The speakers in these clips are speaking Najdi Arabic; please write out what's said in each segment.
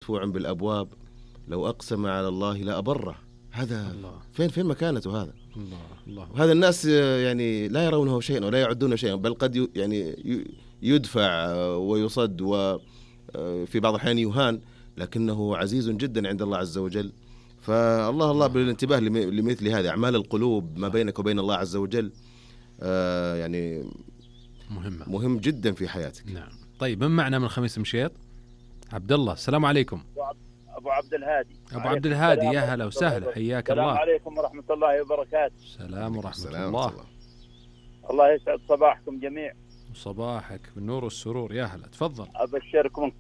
مدفوع بالأبواب، لو أقسم على الله لا أبره. هذا الله. فين مكانته هذا؟ الله. هذا الناس يعني لا يرونه شيئا ولا يعدونه شيئا، بل قد يعني يدفع ويصد وفي بعض الأحيان يهان، لكنه عزيز جدا عند الله عز وجل. فالله بالانتباه لمثل هذه أعمال القلوب ما بينك وبين الله عز وجل يعني مهم جدا في حياتك. نعم. طيب من معنا من خميس مشيط؟ عبد الله. السلام عليكم. أبو عبد الهادي. أبو عبد الهادي، يا هلا وسهلا، حياك الله. السلام عليكم ورحمة الله وبركاته. السلام ورحمة الله. الله يسعد صباحكم جميع. صباحك بالنور والسرور، يا هلا، تفضل. أبشركم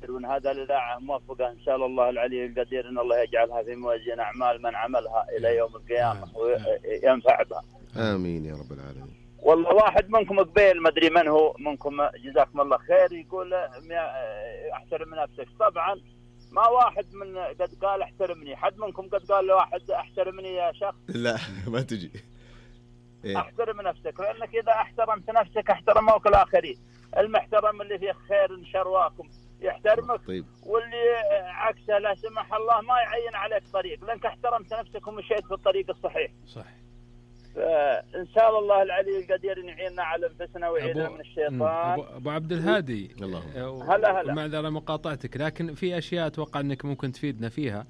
وإن هذا الإذاعة موفقة إن شاء الله العلي القدير، إن الله يجعلها في موازين أعمال من عملها إلى يوم القيامة وينفع بها. آمين يا رب العالمين. والله واحد منكم قبيل ما أدري من هو منكم، جزاكم الله خير، يقول احترم نفسك. طبعا ما واحد من قد قال احترمني، حد منكم قد قال لواحد احترمني يا شخص؟ لا ما تجي. احترم نفسك، لأنك إذا احترمت نفسك احترموك الآخرين. المحترم اللي فيه خير شرواكم يحترمك. طيب. واللي عكسه لا سمح الله ما يعين عليك طريق، لأنك احترمت نفسك ومشيت في الطريق الصحيح. صح. إن شاء الله العلي القدير يعيننا على أنفسنا ويعيننا من الشيطان. أبو عبد الهادي، هلا معذرة مقاطعتك، لكن في أشياء أتوقع أنك ممكن تفيدنا فيها،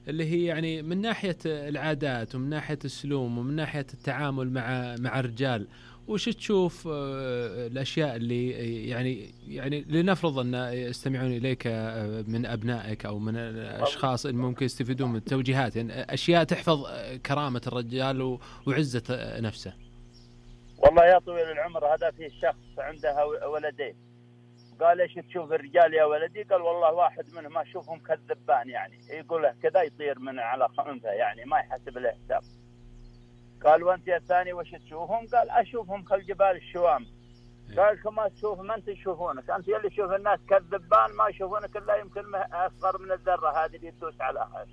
اللي هي يعني من ناحية العادات ومن ناحية السلوم ومن ناحية التعامل مع الرجال. وش تشوف الأشياء اللي يعني لنفرض أن يستمعون إليك من أبنائك أو من الأشخاص اللي ممكن يستفيدون من التوجيهات، يعني أشياء تحفظ كرامة الرجال وعزة نفسه؟ والله يا طويل العمر، هذا في شخص عنده ولدين، قال ايش تشوف الرجال يا ولدي؟ قال والله واحد منهم أشوفهم كالذبان، يعني يقول له كذا يطير من على خنفه، يعني ما يحسب له حساب. قال وانت يا الثاني وش تشوفهم؟ قال اشوفهم كالجبال الشوام. قال كما تشوف ما انت تشوفونك، انت اللي تشوف الناس كالذبان، ما يشوفونك الا يمكن اصغر من الذره هذه اللي تدوس عليها.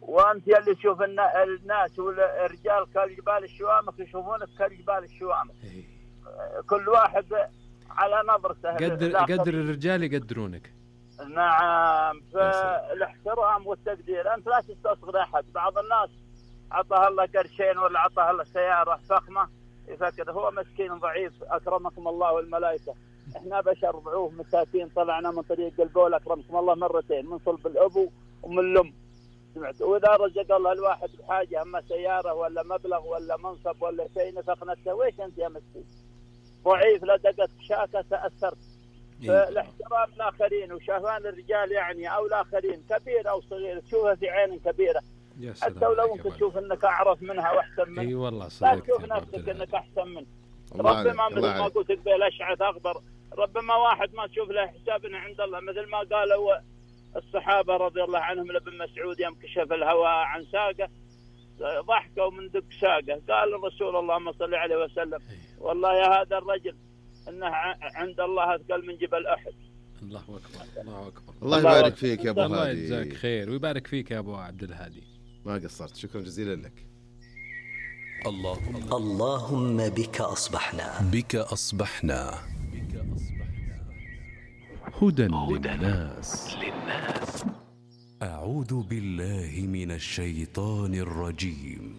وانت اللي تشوف الناس والرجال كالجبال الشوامخ، يشوفونك كالجبال الشوامخ. كل واحد على نظرته. قدر الرجال يقدرونك. نعم. فالاحترام والتقدير، انت لا تستصغر احد. بعض الناس عطاه الله قرشين ولا عطاه الله سيارة فخمة يفكر هو مسكين ضعيف، أكرمكم الله والملائكة. إحنا بشر ضعوف مساكين، طلعنا من طريق القول أكرمكم الله مرتين، من صلب الأبو ومن الأم. سمعت؟ وإذا رزق الله الواحد بحاجة، أما سيارة ولا مبلغ ولا منصب ولا شيء، نفق نفسه. ويش أنت يا مسكين ضعيف؟ لا دقت شاكة تأثرت. فالاحترام الآخرين وشافان الرجال يعني أو الآخرين كبير أو صغير تشوفها في عين كبيرة، حتى ولو انت تشوف انك اعرف منها واحسن منها. اي والله لا تشوف نفسك انك احسن منه. ربما مثل ما قلت قبل اشعث اخضر، ربما واحد ما تشوف له حسابنا عند الله، مثل ما قالوا الصحابه رضي الله عنهم لابن مسعود يوم كشف الهواء عن ساقه ضحكوا من دق ساقه، قال الرسول اللهم صل عليه وسلم والله يا هذا الرجل انه عند الله اثقل من جبل احد. الله اكبر. الله اكبر. الله يبارك فيك يا ابو هادي. الله يجزاك خير ويبارك فيك يا ابو عبد الهادي. ما قصرت، شكرا جزيلا لك. اللهم بك أصبحنا هدى للناس. أعوذ بالله من الشيطان الرجيم.